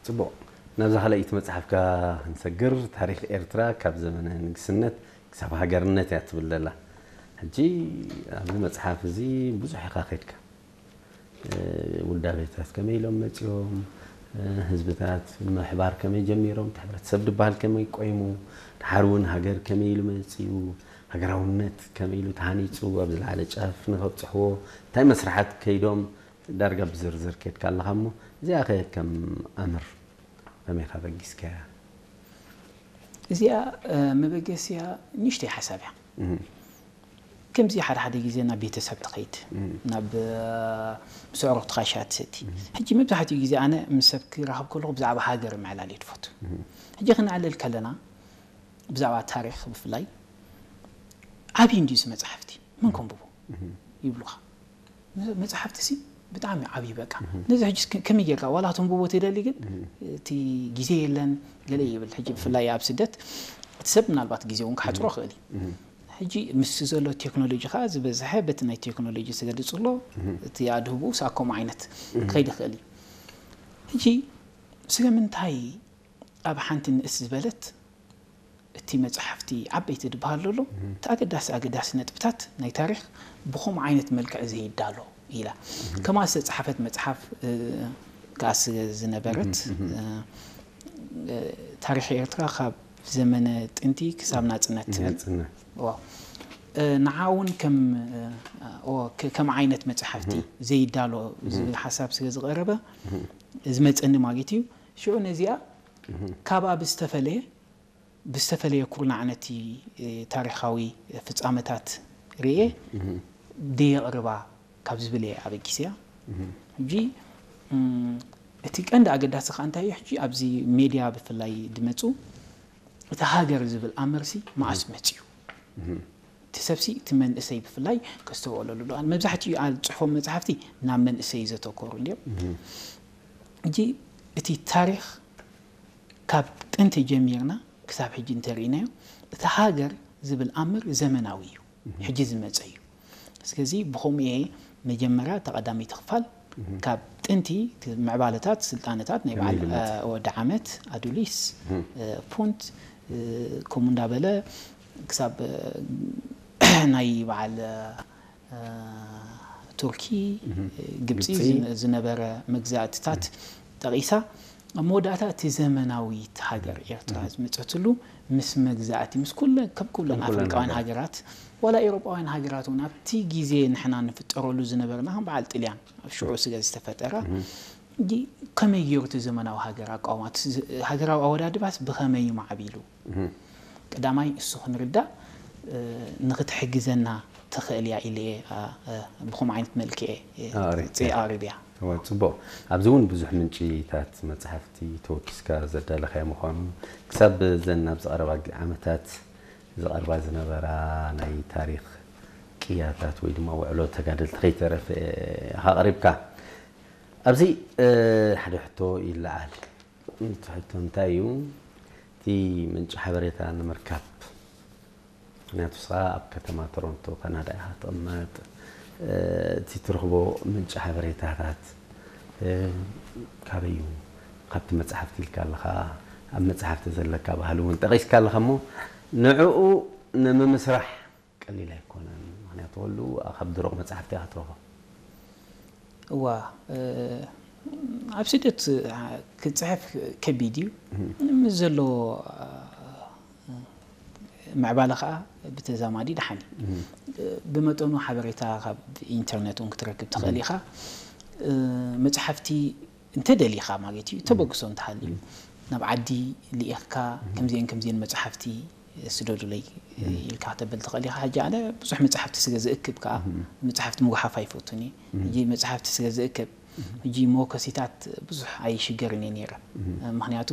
ጽቡቕ። ናብዛ ካልኣይቲ መጽሓፍካ ክንሰግር፣ ታሪኽ ኤርትራ ካብ ዘመነ ንግስነት ክሳብ ሃገርነት እያ ትብል ዘላ። ሕጂ ኣብዚ መጽሓፍ እዚ ብዙሕ ኢኻ ከድካ። እ፣ ውልዳቤታት ከመይ ኢሎም መጺኦም፣ እ፣ ህዝብታት ምሕባር ከመይ ጀሚሮም፣ እቲ ሕብረተሰብ ድበሃል ከመይ ቆይሙ፣ ድሓር እውን ሃገር ከመይ ኢሉ መጺኡ፣ ሃገራውነት ከመይ ኢሉ ተሃኒጹ ኣብ ዝለዓለ ጫፍ ንኸብጽሕዎ እንታይ መስርሓት ከይዶም ዳርጋ ብዝርዝር ከድካ ኣለኻ እሞ፣ እዚኣ ከ ከም ኣምር ከመይ ኢኻ በጊስካያ? እዚኣ፣ እ፣ መበገሲያ ንእሽተይ ሓሳብ እያ። እህ። ከምዚ ሓደ ሓደ ግዜ ናብ ቤተሰብ ትኸይድ፣ እህ። ናብ፣ እ፣ ምስ ኣዕሩኽትኻ ሻሂ ትሰቲ። እህ። ሕጂ መብዛሕትኡ ግዜ ኣነ ምስ ሰብ ክራኸብ ከለኹ ብዛዕባ ሃገር ምዕላል እየ ዝፈቱ። እህ። ሕጂ ክነዕልል ከለና ብዛዕባ ታሪኽ ብፍላይ ዓብዪ እንድዩ እዚ መጽሓፍቲ፣ መን ከንብቦ? እህ። ይብሉኻ። መ-፣ መጽሓፍቲ ሲ ብጣዕሚ ዓብዪ በቃ። እህ። ነዚ ሕጂ እስከ-፣ ከመይ ጌርካ ዋላ ከተንብቦ ትደሊ ግን እህ። እቲ ግዜ የለን ገለ ይብል። ሕጂ ብፍላይ ኣብ ስደት እቲ ሰብ ምናልባት ግዜ እውን ክሓጽሮ እህ። ይኽእል እዩ። እህ። ሕጂ ምስ ዘሎ ቴክኖሎጂ ከኣ ዝበዝሐ በቲ ናይ ቴክኖሎጂ ዝገልጽ ኣሎ፣ እህ። እቲ ኣድህቦ ሳብ ከምኡ ዓይነት እህ። ክኸይድ ይኽእል እዩ። ሕጂ ስለምንታይ ኣብ ሓንቲ ንእስ ዝበለት እቲ መጽሓፍቲ ዓበይቲ ዝበሃል ዘሎ፣ እህ። እቲ ኣገዳሲ ኣገዳሲ ነጥብታት ናይ ታሪኽ ብኸምኡ ዓይነት መልክዕ ዘይዳሎ ኢላ። እህ። ከምኣ ዝተጻሕፈት መጽሓፍ፣ እ፣ ከኣ ስ-፣ ዝነበረት፣ እህ፣ እህ። እ፣ እ፣ ታሪኽ ኤርትራ ካብ ዘመነ ጥንቲ ክሳብ ናጽነት ትብል። ናጽነት። ዋው። እ፣ ንዓ እውን ከም፣ እ፣ ኦ፣ ከ-፣ ከም ዓይነት መጽሓፍቲ እህ። ዘይዳሎ እህ። ዝብል ሓሳብ ስለ ዝቐረበ እህ። ዝመጸኒ ማለት እዩ። ሽዑ ነዚኣ እህ። ካብኣ ብዝተፈለየ ብዝተፈለየ ኩርናዕ ነቲ፣ እ፣ ታሪኻዊ ፍጻመታት ርእየ እህ። ደየቕርባ ካብ ዝብል እየ ኣበጊሰያ። እህ። ሕጂ፣ እም፣ እቲ ቀንዲ ኣገዳሲ ከኣ እንታይ እዩ? ሕጂ ኣብዚ ሜድያ ብፍላይ ድመጹ፣ እቲ ሃገር ዝብል ኣምርሲ መዓስ እህ። መጺኡ? እህ። እቲ ሰብሲ፣ እቲ መንእሰይ ብፍላይ ከስተውዕለሉ ኣለዎ። መብዛሕትኡ ኣብ ጽሑፎም መጽሓፍቲ ናብ መንእሰይ ዘተኮሩ እንድዮም። እህ። ሕጂ እቲ ታሪኽ ካብ ጥንቲ ጀሚርና ክሳብ ሕጂ እንተርኢናዮ፣ እቲ ሃገር ዝብል ኣምር ዘመናዊ እዩ። እህ። ሕጂ ዝመጸ እዩ። ስለዚ ብኸምኡ እየ መጀመርያ እታ ቀዳመይቲ ክፋል እህ። ካብ ጥንቲ እቲ ምዕባለታት፣ ስልጣነታት ናይ ከመይ በዓል፣ ዝመጸ? እ፣ ወዲ ዓመት፣ ኣዱሊስ፣ እህ። እ፣ ፑንት፣ እ፣ ከምኡ እንዳበለ ክሳብ፣ እ፣ ናይ በዓል፣ እ፣ እ፣ ቱርኪ፣ እህ። ግብጺ ግብጺ። ዝነ-፣ ዝነበረ መግዛእትታት እህ። ጠቒሳ፣ ኣብ መወዳእታ እቲ ዘመናዊት ሃገር እህ። ኤርትራ እህ። ዝመጸትሉ ምስ መግዛእቲ፣ ምስ ኩለን፣ ከም ኩለን ከም ኩለን ኣፍሪቃውያን ሃገራት። ሃገራት፣ ዋላ ኤውሮጳውያን ሃገራት እውን ኣብቲ ግዜ ንሕና ንፍጠረሉ ዝነበርና፣ ከም በዓል ጥልያን ኣብ ሽዑ ስለ ዝተፈጠረ፣ እህ። ጂ-፣ ከመይ ገይሩ እቲ ዘመናዊ ሃገር ኣቃውማ፣ እቲ ዝ-፣ ሃገራዊ ኣወዳድባስ ብኸመይ እዩ ማዕቢሉ? እህ። ቀዳማይ እሱ ክንርዳእ፣ እ፣ ንኽትሕግዘና ትኽእል እያ ኢለ እየ፣ ኣ፣ እ፣ ብኸምኡ ዓይነት መልክዕ እየ ኣቕሪብካ። ጽ-፣ ኣቕሪብያ። እወ፣ ጽቡቕ። ኣብዚ እውን ብዙሕ ምንጪታት መጽሓፍቲ ተወኪስካ ዘዳለኻዮ ምዃኑ፣ ክሳብ እዘን ኣብዚ ቀረባ ግ-፣ ዓመታት ዝቐርባ ዝነበራ ናይ ታሪኽ ቅያታት ወይ ድማ ውዕሎ ተጋደልቲ ከይተረፈ ኢኻ ኣቕሪብካ። ኣብዚ፣ እ፣ ሓደ ሕቶ ይለዓል። እቲ ሕቶ እንታይ እዩ? እቲ ምንጪ ሓበሬታ ንምርካብ፣ ምኽንያቱ ንስኻ ኣብ ከተማ ቶሮንቶ ካናዳ ኢኻ ትቕመጥ፣ እ፣ እቲ ትረኽቦ ምንጪ ሓበሬታታት፣ እ፣ ካበይ እዩ? ካብቲ መጽሓፍቲ ኢልካ ኣለኻ፣ ኣብ መጽሓፍቲ ዘለካ ባህሊ እውን ጠቒስካ ኣለኻ እሞ፣ ንዕኡ ንምምስራሕ ቀሊል ኣይኮነን። ምኽንያቱ ኩሉ ካብ ደረቕ መጻሕፍቲ ኢኻ ትረኽቦ። እዋ፣ እ፣ ኣብ ስደት፣ እ፣ ክትጽሕፍ ከቢድ እዩ። እህ። ምስ ዘሎ፣ እ፣ ምዕባለ ኸኣ ብተዛማዲ ደሓን እዩ። እህ። እ፣ ብመጠኑ ሓበሬታ ካብ ኢንተርነት እውን ክትረክብ ትኽእል እህ። ኢኻ። እ፣ መጽሓፍቲ እንተ ደሊኻ ማለት እዩ፣ እህ። ተበግሶ እንተሃልዩ፣ እህ። ናብ ዓዲ ልኢኽካ፣ እህ። ከምዚአን ከምዚአን መጽሓፍቲ ስደዱለይ እህ። ኢልካ ከተብል ትኽእል ኢኻ። ሕጂ ኣነ ብዙሕ መጽሓፍቲ ስለ ዝእክብ ከኣ፣ እህ። መጽሓፍቲ ምጉሓፍ ኣይፈቱን እየ። እህ። ሕጂ መጽሓፍቲ ስለ ዝእክብ፣ እህ። ሕጂ መወከሲታት ብዙሕ ኣይሽገርን እየ ነይረ። እህ። ምኽንያቱ፣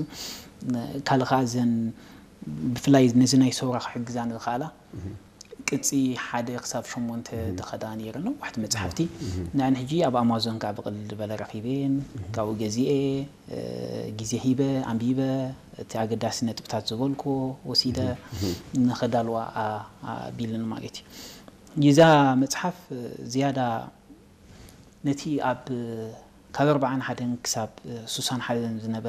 ካልእ ከኣ እዘን ብፍላይ ነዚ ናይ ሰውራ ክሕግዛ ንዝኽኣላ፣ እህ። ቅጺ ሓደ ክሳብ ሸሞንተ እህ። ተኸዳ ነይረ፣ ነዋሕቲ መጽሓፍቲ። እህ። ንዐን ሕጂ ኣብ ኣማዞን ከኣ ብቐሊል ዝበለ ረኺበየን፣ እህ። ካብኡ ገዚኤ፣ እ፣ ግዜ ሂበ፣ ኣንቢበ፣ እቲ ኣገዳሲ ነጥብታት ዝበልኩዎ ወሲደ እህ። እህ። ንኸዳልዋ ኣ-፣ ኣቢልን ማለት እዩ። ይዛ መጽሓፍ ዝያዳ ነቲ ኣብ ካብ ኣርብዓን ሓደን ክሳብ ሱሳን ሓደን ዝነበረ